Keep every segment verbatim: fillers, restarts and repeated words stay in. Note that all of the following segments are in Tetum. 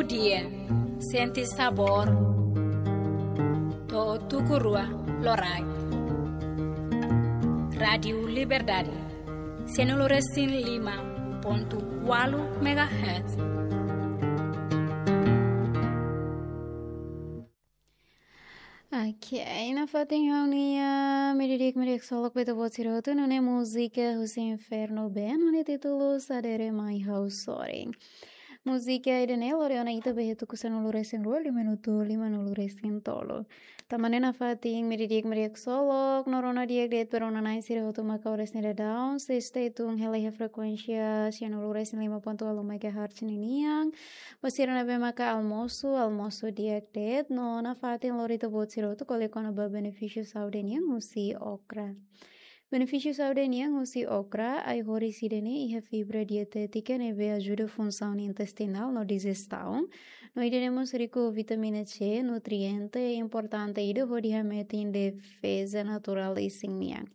Dia, sente sabór. To'o tuku rua loraik. Rádiu Liberdade, sianulu resin lima pontu ualu megahertz. Ok, nafatin ha'u-nia meiudia di'ak, meiudia di'ak ksolok ba ita-boot sira hotu, nune'e múzika husi Inferno Band, nune'e títulu Sadere Mai Ha'u Sorin. Múzika ida-ne'e lori ona ita ba iha tuku sanulu resin rua, liu minutu limanulu resin tolu. Tanba ne'e nafatin meiudia di'ak, meiudia di'ak ksolok, no rona di'ak de'it ba rona-na'in sira hotu mak oras ne'e daudaun, sei stay tune hela iha frekuénsia sianulu resin lima pontu ualu megahertz ninian. Ba sira ne'ebé maka almosu, almosu di'ak de'it, no nafatin lori ita-boot sira hotu ko'alia kona-ba benefísiu saúde nian husi okra. Benefísiu saúde nian husi okra, ai-horis ida-ne'e iha fibra dietétika ne'ebé ajuda funsaun intestinál no dijestion. No ida-ne'e mós riku vitamina C, nutriente importante ida hodi hametin defeza naturál isin nian.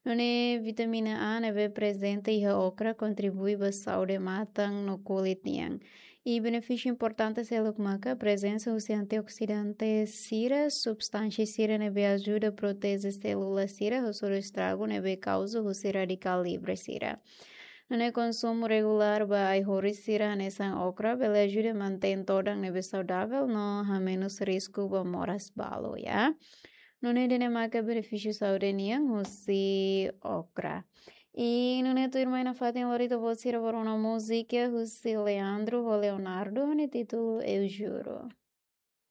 Nune'e vitamina A ne'ebé prezente iha okra kontribui ba saúde matan no kulit nian. I benefísiu importante seluk maka prezensa husi antioksidante sira, substánsia sira ne'ebé ajuda proteje sélula sira husi estragu ne'ebé kauza husi radikál livre sira. Nune'e konsumu regulár ba ai-horis sira hanesan okra bele ajuda mantein todan ne'ebé saudavel no hamenus risku ba moras balu, ya. Nune'e ida-ne'e maka benefísiu saúde nian husi okra. I nune'e tuirmai nafatin lori ita-boot sira ba rona múzika husi Leandro ho Leonardo, nune'e títulu Eu Juro.